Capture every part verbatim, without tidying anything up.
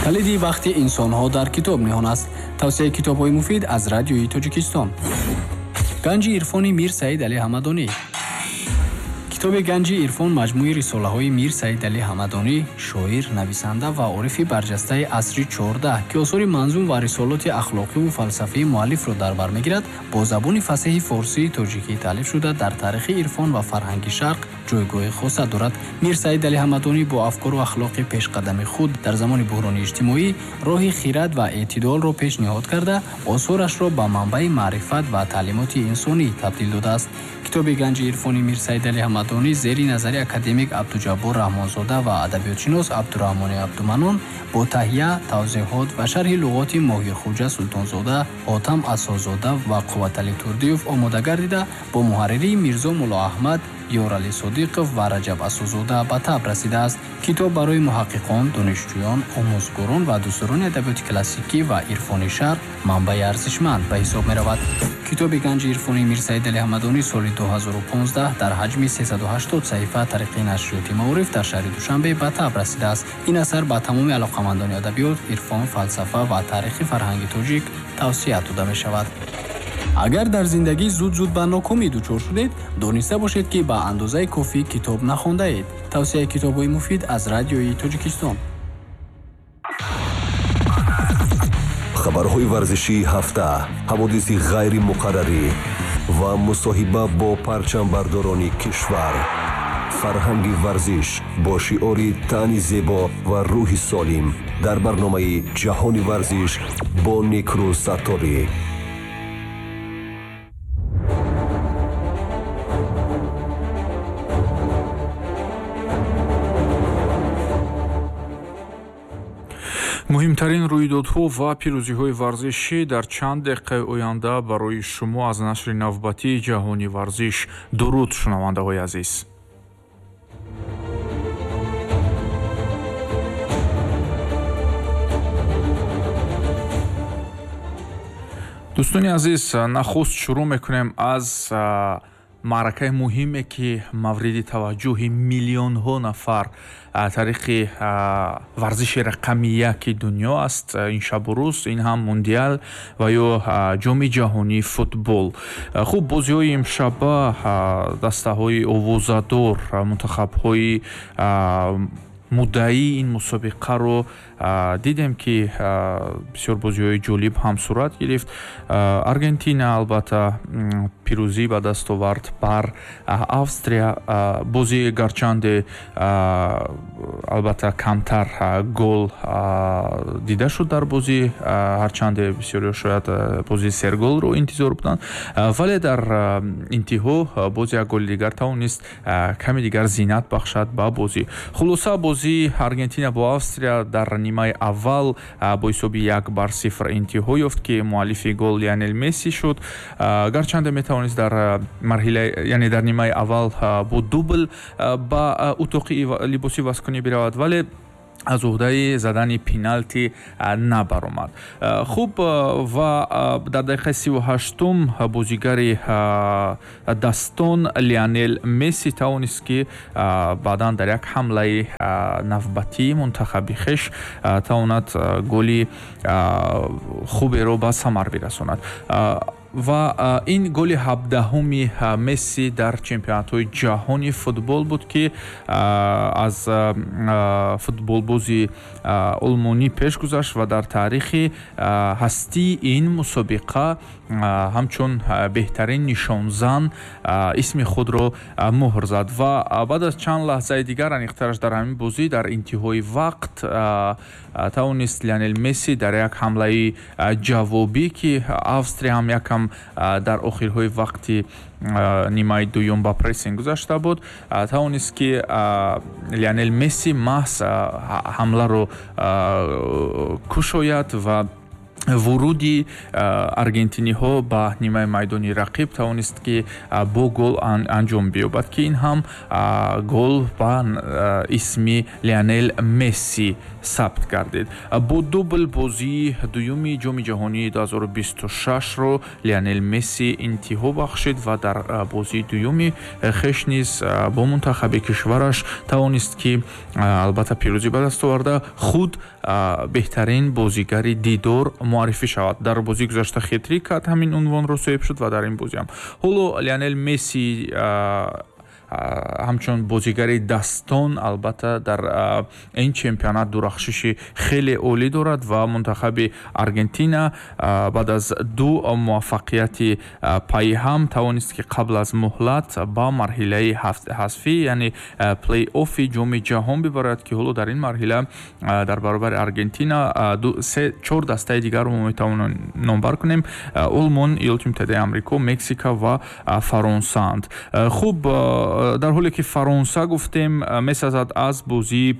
Калиди бахти инсонҳо дар китоб ниҳон аст. Тавсияи китобҳои муфид аз Радиои Тоҷикистон. Ганҷи ирфони Мир Саид Али Ҳамадонӣ. Китоби Ганҷи ирфон маҷмӯи рисолаҳои Мир Саид Али Ҳамадонӣ, шоир, нависанда ва орифи барҷастаи асри чордаҳ, ки осори манзум ва рисолоти ахлоқиву фалсафии муаллифро дар бар мегирад, бо забони фасеҳи форсии тоҷикӣ таълиф шуда, дар таърихи ирфон ва фарҳанги шарқ ҷойгоҳи хоса дорад. Мир Саид Али Ҳамадонӣ бо афкору ахлоқи пешқадами худ дар замони буҳрони иҷтимоӣ роҳи хирад ва эътидолро пешниҳод карда, осорашро ба манбаи маърифат ва таълимоти инсонӣ табдил додааст. Китоби Ганҷи ирфони Мир Саид Али Ҳамадонӣ зери назари академик Абдуҷаббор Раҳмонзода ва адабиётшинос Абдураҳмони Абдуманон бо таҳия, тавзеҳот ва шарҳи луғоти Моҳирхуҷа Султонзода, Ҳотам Асозода ва Қувватали Турдиев омода гардида, бо муҳарририи Мирзо Муллоаҳмад, Ёрали Содиқов ва Раҷаб Асозода ба таб расидааст. Китоб барои муҳаққиқон, донишҷӯён, омӯзгорон ва дӯстдорони адабиёти классикӣ ва ирфони шарқ манбаи арзишманд ба ҳисоб меравад. Китоби Ганҷи ирфони Мир Саид Али Ҳамадонӣ соли ду ҳазору понздаҳ дар ҳаҷми сесаду ҳаштод саҳифа тариқи нашриёти Маориф дар шаҳри Душанбе ба таб расидааст. Ин асар ба тамоми алоқамандони адабиёт, ирфон, фалсафа ва таърихи фарҳанги тоҷик тавсия дода мешавад. Агар дар зиндагӣ зуд-зуд ба нокомӣ дучор шудед, дониста бошед, ки ба андозаи кофӣ китоб нахондаед. Тавсияи китобҳои муфид аз Радиои Тоҷикистон. Хабарҳои варзишии ҳафта, ҳаводиси ғайримуқаррарӣ ва мусоҳиба бо парчамбардорони кишвар. Фарҳанги варзиш бо шиори тани зебо ва рӯҳи солим дар барномаи Ҷаҳони варзиш бо Некрӯз Сатторӣ. Муҳимтарин рӯйдодҳо ва пирӯзиҳои варзишӣ дар чанд дақиқаи оянда барои шумо аз нашри навбатии Ҷаҳони варзиш. Дуруд, шунавандаҳои азиз. Дӯстони азиз, нахуст шурӯъ мекунем аз маъракаи муҳиме, ки мавриди таваҷҷӯҳи миллионҳо нафар тариқи варзиши рақами яки дунё аст ин шабу рӯз, ин ҳам мундиал ва ё ҷоми ҷаҳонии футбол. Хуб, бозиҳои имшаба дастаҳои овозадор, мунтахабҳои муддаии ин мусобиқаро дидем, ки бисёр бозиҳои ҷолиб ҳам сурат гирифт. Аргентина албатта пирӯзӣ ба даст овард бар Австрия. Бозӣ гарчанде албатта камтар гол дида шуд дар бозӣ, ҳарчанде бисёриҳо шояд бозии серголро интизор буданд, вале дар интиҳо боз як голи дигар тавонист каме дигар зинат бахшад ба бозӣ. Хулоса, бозии Аргентина бо Австрия дар нимаи аввал бо ҳисоби як бар сифр интиҳо ёфт, ки муаллифи гол Лионел Месси шуд. Гарчанде метавонист дар марҳила, яъне дар нимаи аввал бо дубл ба утоқи либоси вазкунӣ биравад, вале аз уҳдаи задани пеналти набаромад. Хуб, ва дар дақиқаи сиву ҳаштум бозигари дастон Лионел Месси тавонист, ки баъдан дар як ҳамлаи навбатии мунтахаби хеш тавонад голи хуберо ба самар бирасонад. Ва ин голи ҳабдаҳуми Месси дар чемпионатҳои ҷаҳони футбол буд, ки аз футболбози олмонӣ пеш гузашт ва дар таърихи ҳастии ин мусобиқа ҳамчун беҳтарин нишонзан исми худро муҳр зад. Ва баъд аз чанд лаҳзаи дигар, аниқтараш дар ҳамин бозӣ дар интиҳои вақт, тавонист Лионел Месси дар як ҳамлаи ҷавобӣ, ки Австрия ҳам якам дар охирҳои вақти нимаи дуюм ба прессинг гузашта буд, тавонист, ки Лионел Месси маҳз ҳамларо кушояд ва Вуруди аргентиниҳо ба нимаи майдони рақиб тавонист, ки бо гол анҷом биёбад, ки ин ҳам гол ба исми Лионел Месси сабт гардид. Бо дубл бозии дуюми Ҷоми ҷаҳонии ду ҳазору бисту шашро Лионел Месси интиҳо бахшид ва дар бозии дуюми хеш низ бо мунтахаби кишвараш тавонист, ки албатта пирӯзӣ ба даст оварда, худ беҳтарин бозигари дидор муаррифӣ шавад. Дар бозии гузашта хет-трик кард, ҳамин унвонро соҳиб шуд ва дар ин бозиам ҳоло Лионел Месси ҳамчун бозигари дастон албатта дар ин чемпионат дурахшиши хеле олӣ дорад ва мунтахаби Аргентина баъд аз ду муваффақияти пайҳам тавонист, ки қабл аз муҳлат ба марҳилаи ҳазфӣ, яъне плей-оффи Ҷоми ҷаҳон бибарад, ки ҳоло дар ин марҳила дар баробари Аргентина чор дастаи дигарро мо метавонем номбар кунем: Олмон, Иёлоти Муттаҳидаи Амрико, Мексика ва Фаронсаанд. Хуб, дар ҳоле ки Фаронса гуфтем, месазад аз бозии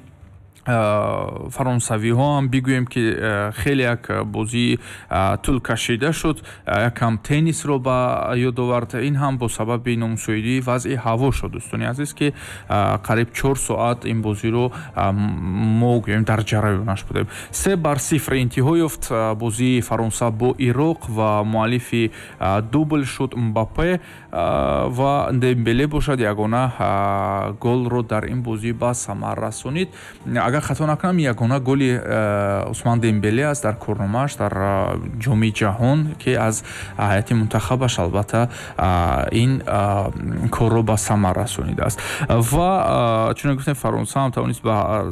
фаронсавиҳо ҳам бигӯем, ки хеле як бозии тӯлкашида шуд, якам теннисро ба ёд овард. Ин ҳам бо сабаби номусоидии вазъи ҳаво шуд, дӯстони азиз, ки қариб чор соат ин бозиро мо гӯем дар ҷараёнаш будем. Се бар сифр интиҳо ёфт бозии Фаронса бо Ироқ ва муаллифи дубл шуд Мбаппе ва Дембеле бошад ягона голро дар ин бозӣ ба самар расонид. Агар хато накунам, ягона голи э, Усман Дембеле аст дар корномааш дар э, Ҷоми ҷаҳон, ки аз ҳайати мунтахабаш албатта ин корро ба самар расонидааст. Ва чунон гуфтем, Фаронса ҳам тавонист ба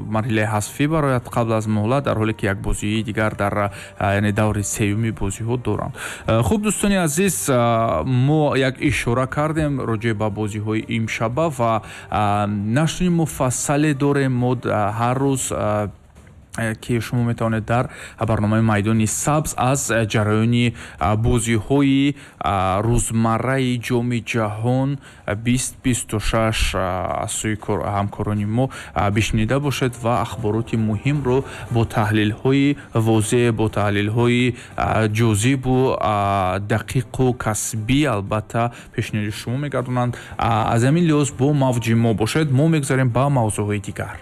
марҳилаи ҳазфӣ барояд қабл аз муҳлат, дар ҳоле ки як бозии дигар дар, яъне даври сеюми бозиҳо доранд. Хуб, дӯстони азиз, мо як ишора кардем роҷеъ ба бозиҳои имшаба ва нашри муфассале дорем мо ҳар рӯз, ки шумо метавонед дар барномаи «Майдони сабз» аз ҷараёни бозиҳои рӯзмарраи Ҷоми ҷаҳон бист бисту шаш аз сӯи ҳамкорони мо бишнида бошед ва ахбороти муҳимро бо таҳлилҳои возеҳ, бо таҳлилҳои ҷозибу дақиқу касбӣ албатта пешниҳоди шумо мегардонанд. Аз ҳамин лиҳоз бо мавҷи мо бошед. Мо мегузарем ба мавзӯъҳои дигар.